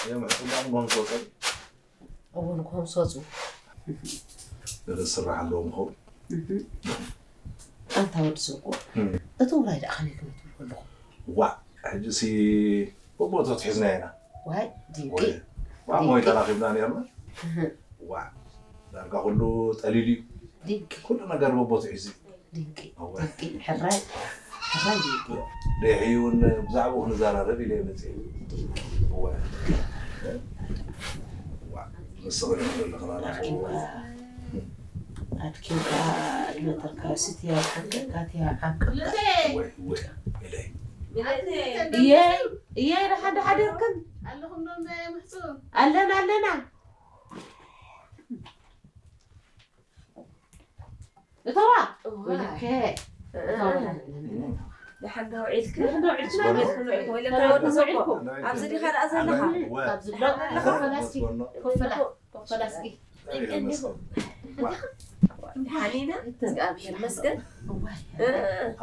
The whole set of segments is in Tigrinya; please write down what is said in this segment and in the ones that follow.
እዮም ሕፅና ንጎም ዝወፀሉ። እዎ ንጎም ዝወፁ ገለ ዝስራሕ ኣለዎም ኸውን። ኣንታ ወዲ ስርቁ እቲ ውራይ ደኣ ከመይ ክነትብል ከለኹ ዋዕ ሕጂ ሲ በቦቱ ትሒዝና ኢና። ዋይ ድንቂ ዋዕ ሞይታ ራኺብና ነርና። ዋዕ ዳርጋ ኩሉ ጠሊሉ እዩ። ድንቂ ኩሉ ነገር በቦቱ ሒዙ እዩ። ድንቂ እወ። ድንቂ ሕራይ ሕራይ ድንቂ ደሕዩ እውን ብዛዕባኡ ክንዘራረብ ኢለ መፅእ። ድንቂ እወ። ዋዕ ንስኺ ዘለኽና ናፍቆት። ኣድኪምካ ይመጠርካ ስቲያ ሓንቀቃትያ ዓንቀቃ ወይ ወይ ኢለይ። እየይ እየይ ደሓን ደሓን ደርክን ኣለኹም ዶ እንዳ ምሕፁ ኣለና ኣለና እተዋ ወይለከ ደሓን ዶ ውዒልክ? ደሓን ዶ ውዒልክ? ወይለካ ወዲ ዘቦ ኣብዚ ዲኻ ደኣ ዘለኻ? እወ። ካብ ዝብሎ ኮፈላስኪ ኮፈላ ኮፈላስኪ ደሓን ኢና እግዚኣብሔር ይመስገን።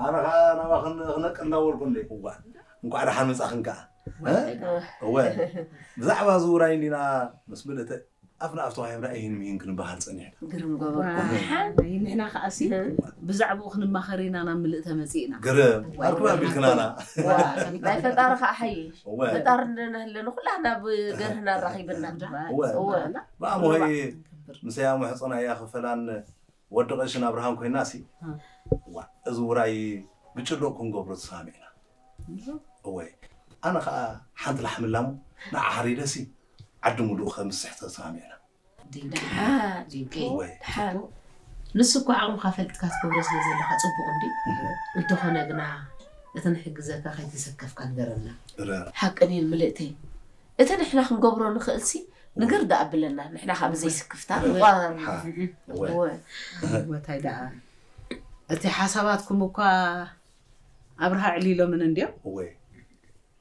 ኣነ ከዓ ናባኽን ክነቅል እናበልኩ እንደ እዋ እንኳዕ ደሓን መፃኽን ከዓ እ? እወ ብዛዕባ እዚ ውራይ እንዲና ምስ ምልእተ ኣፍ ንኣፍ ተዋሂብና ይህን ምሂን ክንበሃል ፀኒሕና። ግርም ገበርኩም። ንሕና ከዓሲ ብዛዕባኡ ክንማኸር ኢና ናብ ምልእተ መፂእና። ግርም ኣርኩብ ኣቢልክናና። ናይ ፈጣሪ ከዓ ሓይሽ እወ ፈጣሪ እንደናህለ ንኩላህና ብገርህና ኣራኺብና። እወ እወ ብኣሞይ ምስ ያሙ ሕፅና እያ ክፈላን ወዲ ቀሽን ኣብርሃም ኮይና ሲ ዋ እዚ ውራይ ብጭሎቅ ክንገብሮ ተሰማሚዕና። እወ ኣነ ከዓ ሓንቲ ላሕሚ ላሙ ንዓ ሓሪደ ሲ ዓዲ ሙሉእ ከምስሕ ተሰማሚዕና። ድንቂ ደሓን ድንቂ እወ ደሓን ንሱ እኮ ዓቕምካ ፈልጥካ ትገብሮ ስለ ዘለካ ፅቡቅ እንዲ እንተኾነ ግና እቲ ንሕግዘካ ከይተሰከፍካ ንገረና። እረ ሓቅን እየን ምልእተይ እቲ ንሕና ክንገብሮ ንኽእል ሲ ንግር ደኣ ብለና ንሕና ካብ ዘይስክፍታ ንቋረር ሓ እወ እወ ወታይ ደኣ እቲ ሓሳባትኩም እኳ ኣብርሃ ዕሊሎምን እንድዮም እወ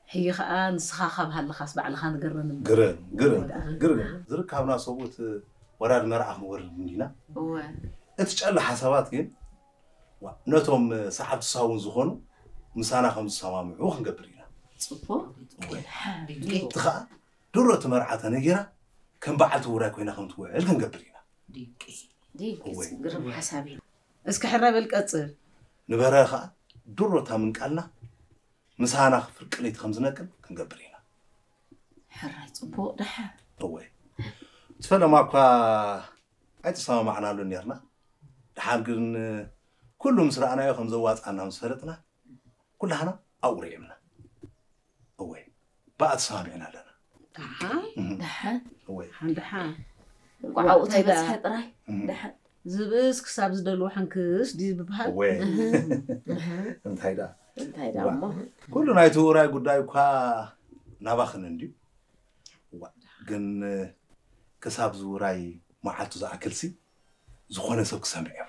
ሕጂ ከዓ ንስኻ ካብ ሃለኻስ ባዕልኻ ንገረን እምበር። ግርም ግርም ግርም ዝርካብና ሰብኡት ወራድ መርዓ ክንወርድ እንዲና። እወ እቲ ጨለ ሓሳባት ግን ዋ፣ ነቶም ሰዓብቲ ሳውን ዝኾኑ ምሳና ከም ዝሰማምዑ ክንገብር ኢና። ፅቡቅ እወ ሓ እቲ ከዓ ድሮ እቲ መርዓ ተነጊራ ከም በዓልቲ ውራይ ኮይና ከም ትውዕል ክንገብር ኢና። ድንቂ ድንቂ እወ። ግርም ሓሳብ እዩ። እስኪ ሕረ በል ቀፅል። ንበረ ከዓ ድሮ እታ ምንቃልና ምሳና ፍርቂ ለይቲ ከም ዝነቅል ክንገብር ኢና። ሕራይ ፅቡቅ ደሓ እወ እቲ ፈለማ እኳ ኣይተሰማማዕናሉ ነርና። ድሓር ግን ኩሉ ምስ ረኣናዮ ከም ዘዋፅኣና ምስ ፈለጥና ኩላህና ኣብኡ ርዒምና። እወ ብኣ ተሰማሚዕና ኣለና። ደሓን እህም። ደሓን እወ ደሓን ደሓን እንቋዕ ኣብኡ ተይበፅሐ ጥራይ እህም። ደሓን ዝብእስ ክሳብ ዝደልዎ ሕንክስ ድዩ ዝበሃል? እወ እንታይ ደኣ እንታይ ደኣ እሞ ኩሉ ናይቲ ውራይ ጉዳይ እኳ ናባኽን እንድዩ። እዋ ግን ክሳብ ዝውራይ መዓልቱ ዝኣክልሲ ዝኾነ ሰብ ክሰምዕ እዮ።